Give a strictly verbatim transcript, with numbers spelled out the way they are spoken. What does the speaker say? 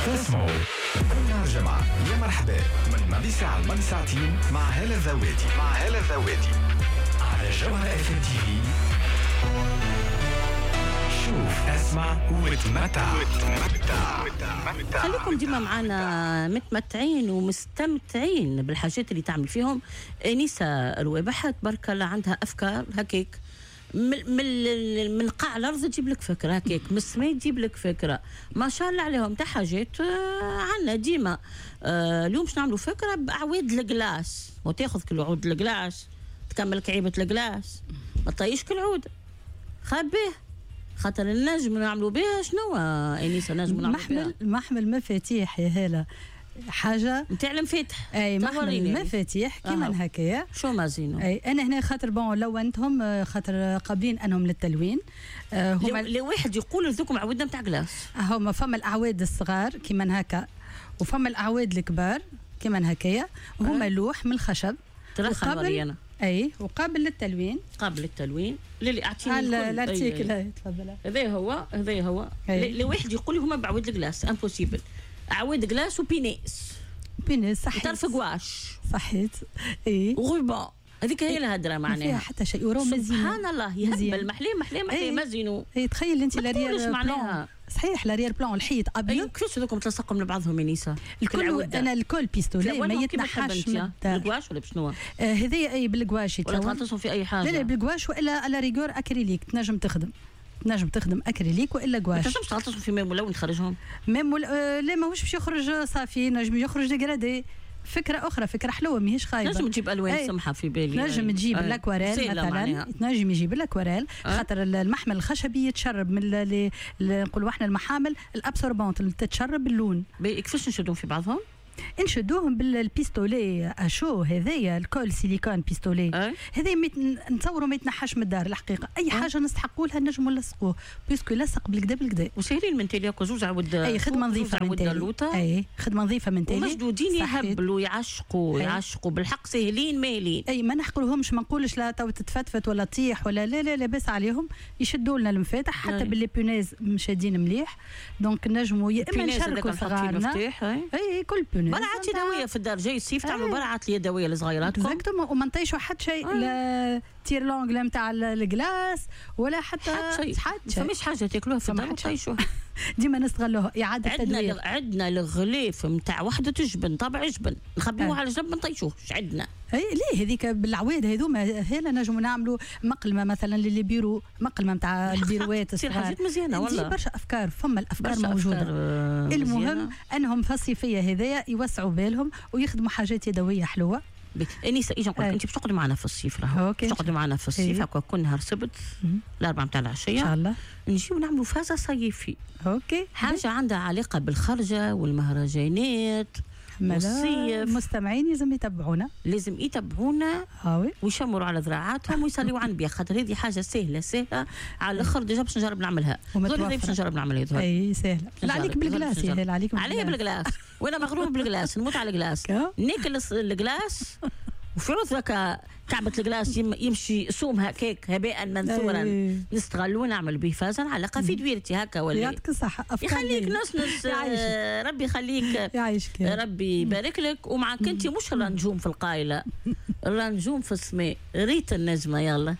تسمعوا كل نهار جمعة يا مرحبا من ماضي ساعة لماضي ساعتين مع هالة الذوادي مع هالة الذوادي على جوهرة اف ام تي في. شوف، اسمع وتمتع. خليكم ديما معنا متمتعين ومستمتعين بالحاجات اللي تعمل فيهم انيسة الوابحه، تبارك الله عندها افكار هكاك من من من قاع الارض تجيب لك فكرة هكاك، من السماء تجيب لك فكرة، ما شاء الله عليهم تاع حاجات عندنا ديما. آه اليوم باش نعملوا فكرة باعواد ال glace، وتاخذ كل عود ال glace تكمل كعيبه ال glace، ما تطيش كل عود، خبيه خاطر النجم نعملوا بها شنو انيسة؟ نجم نعملوا محمل محمل مفاتيح يا هاله، حاجة نتاع المفاتح. اي محمل مفاتيح كيما هكايا. شو مازينو؟ اي انا هنا خاطر bon لونتهم خاطر قابلين انهم للتلوين. آه هما لواحد يقول هذوكم عودنا نتاع glace. هما فما الاعواد الصغار كيما هكا وفما الاعواد الكبار كيما هكايا، هما لوح من الخشب وقابل اي وقابل للتلوين. قابل للتلوين للي اعطيني ال article تفضل. هذا هو هذا هو لواحد يقول هما بعود ال glace impossible، عواد glace و punaise punaise صحيت، طرف غواش صحيت اي و ruban، هذيك هي الهدرة معناها ما فيها حتى شيء وراه مزيان. سبحان الله يهبل محلي محلي محلي مزينو. اي تخيل انت l'arrière-plan صحيح l'arrière-plan الحيط ابيض. كيفاش هذوكم تلصقهم لبعضهم يا نيسا؟ الكل انا ال colle pistolet ما يتنحاش بالكواش ولا بشنو؟ آه هذايا اي بالكواش ولا تغطسهم في اي حاجة؟ لا لا بالكواش والا à la rigueur acrylique، تنجم تخدم تنجم تخدم اكريليك والا غواش. ما تنجمش تغطسهم في ماء ملون تخرجهم؟ ماء مل... آه لا ماهوش باش يخرج صافي، نجم يخرج dégradé. فكرة اخرى، فكرة حلوة ماهيش خايبة. نجم تجيب الوان سمحه في بالي، نجم تجيب l'aquarelle مثلا، تنجم يجيب l'aquarelle خاطر المحمل الخشبي يتشرب من اللي نقولوا احنا المحامل ال absorbantes اللي تتشرب اللون. كيفاش نشدوهم في بعضهم؟ نشدوهم بال pistolet à chaud هذايا ال colle silicone pistolet هذايا نتصوروا ما يتنحاش من الدار الحقيقة. اي حاجة نستحقوا لها نجموا نلصقوه puisque لصق بالكدا بالكدا وساهلين من تالي زوز عود. اي خدمة نظيفة من تالي، اي خدمة نظيفة من تالي ومشدودين يهبلوا يعشقوا يعشقوا بالحق، ساهلين مالين. اي ما نحقرهمش، ما نقولش لا تو تتفتفت ولا تطيح ولا لا لا لاباس عليهم، يشدوا لنا المفاتح حتى بال les punaises مشادين مليح. donc نجموا يا اما نشاركوا صغارنا اي كل punaise برعات يدوية في الدار جاي الصيف تعملوا برعات اليدوية لصغيراتكم exactement، وما نطيشوا حتى شيء لا tire-langue لا نتاع ال glace ولا حتى حتى شيء، حتى شيء. فماش حاجة تاكلوها في الدار وتطيشوها ديما نستغلوها اعاده تدوير. عندنا عندنا الغليف نتاع وحده جبن طابع جبن نخبيوه على جنب ما نطيشوهش عندنا. اي ليه هذيك بالعواد هذوما هنا نجموا نعملوا مقلمه مثلا ل les bureaux، مقلمه نتاع البيروات تصير حاجات مزيانه والله. برشا افكار، فما الافكار موجودة. أفكار المهم انهم في الصيفية هذايا يوسعوا بالهم ويخدموا حاجات يدوية حلوة. انيسة اجا نقول لك انت باش تقعدي معنا في الصيف راهو باش تقعدي معنا في الصيف هكا كل نهار سبت الاربعة نتاع العشية ان شاء الله نجيو نعملوا فازة صيفي. OK حاجة عندها علاقة بالخرجه والمهرجانات والصيف. المستمعين لازم يتبعونا، لازم يتبعونا ويشمروا على ذراعاتهم ويصليوا على النبي خاطر هذه حاجة سهلة سهلة على الاخر. déjà باش نجرب نعملها، باش نجرب نعملها. اي سهلة. لا عليك بال glace يا هلا، عليك عليا بال glace وانا مغرومه بال glace، نموت على ال glace، ناكل ال glace وفي عوض هكا كعبة ال glace يمشي سومها كيك هباء منثورا نستغلو ونعمل به فازا نعلقها في دويرتي هكا ولا يعطيك الصحة. يخليك نص نص ربي يخليك يعيشك ربي يبارك لك. ومعك انت مش النجوم في القايلة، النجوم في السماء، ريت النجمة يلا.